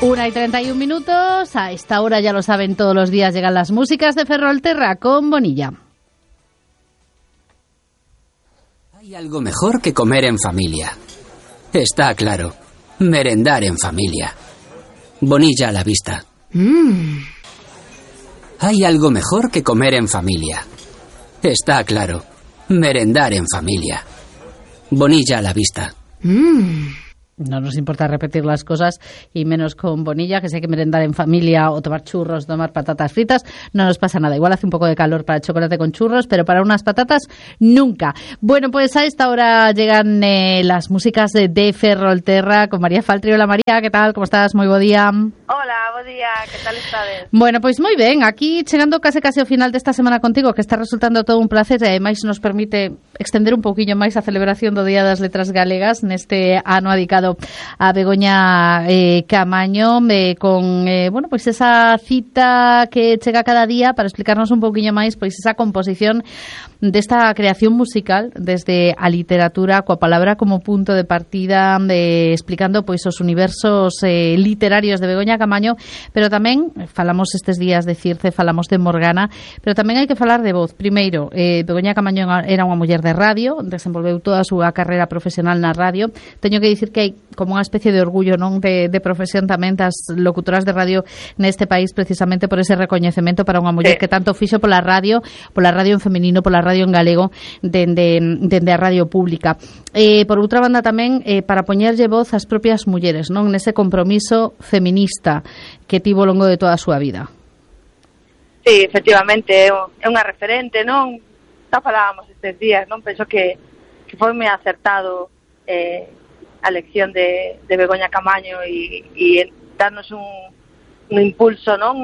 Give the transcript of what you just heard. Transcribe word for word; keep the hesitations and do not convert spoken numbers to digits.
Una y treinta y un minutos. A esta hora, ya lo saben, todos los días llegan las músicas de Ferrolterra con Bonilla. Hay algo mejor que comer en familia. Está claro. Merendar en familia. Bonilla a la vista. Mm. Hay algo mejor que comer en familia. Está claro. Merendar en familia. Bonilla a la vista. Mm. No nos importa repetir las cosas, y menos con Bonilla, que si hay que merendar en familia o tomar churros, tomar patatas fritas, no nos pasa nada. Igual hace un poco de calor para el chocolate con churros, pero para unas patatas, nunca. Bueno, pues a esta hora llegan eh, las músicas de, de Ferrolterra con María Faltri. Hola María, ¿qué tal? ¿Cómo estás? Muy buen día. Hola, buen día, ¿qué tal estás? Bueno, pues moi ben, aquí chegando case case ao final desta semana contigo, que está resultando todo un placer e ademais nos permite extender un pouquiño máis a celebración do Día das Letras Galegas neste ano dedicado a Begoña eh, Camaño, eh, con eh, bueno, pois pues esa cita que chega cada día para explicarnos un pouquiño máis pois esa composición desta creación musical desde a literatura, coa palabra como punto de partida, de, explicando pois os universos eh, literarios de Begoña Camaño, pero tamén falamos estes días de Circe, falamos de Morgana, pero tamén hai que falar de voz. Primeiro, eh, Begoña Camaño era unha muller de radio, desenvolveu toda a súa carreira profesional na radio. Teño que dicir que hai como unha especie de orgullo, non, de, de profesión tamén das locutoras de radio neste país, precisamente por ese recoñecemento para unha muller que tanto fixo pola radio, pola radio en feminino, pola radio en galego, dende, dende a radio pública. Eh, por outra banda tamén, eh, para poñerlle voz ás propias mulleres, non, nese compromiso feminista que tivo ao longo de toda a súa vida. Sí, efectivamente, é unha referente, non? Xa falábamos estes días, non? Penso que, que foi moi acertado eh, a elección de, de Begoña Camaño e, e darnos un, un impulso, non?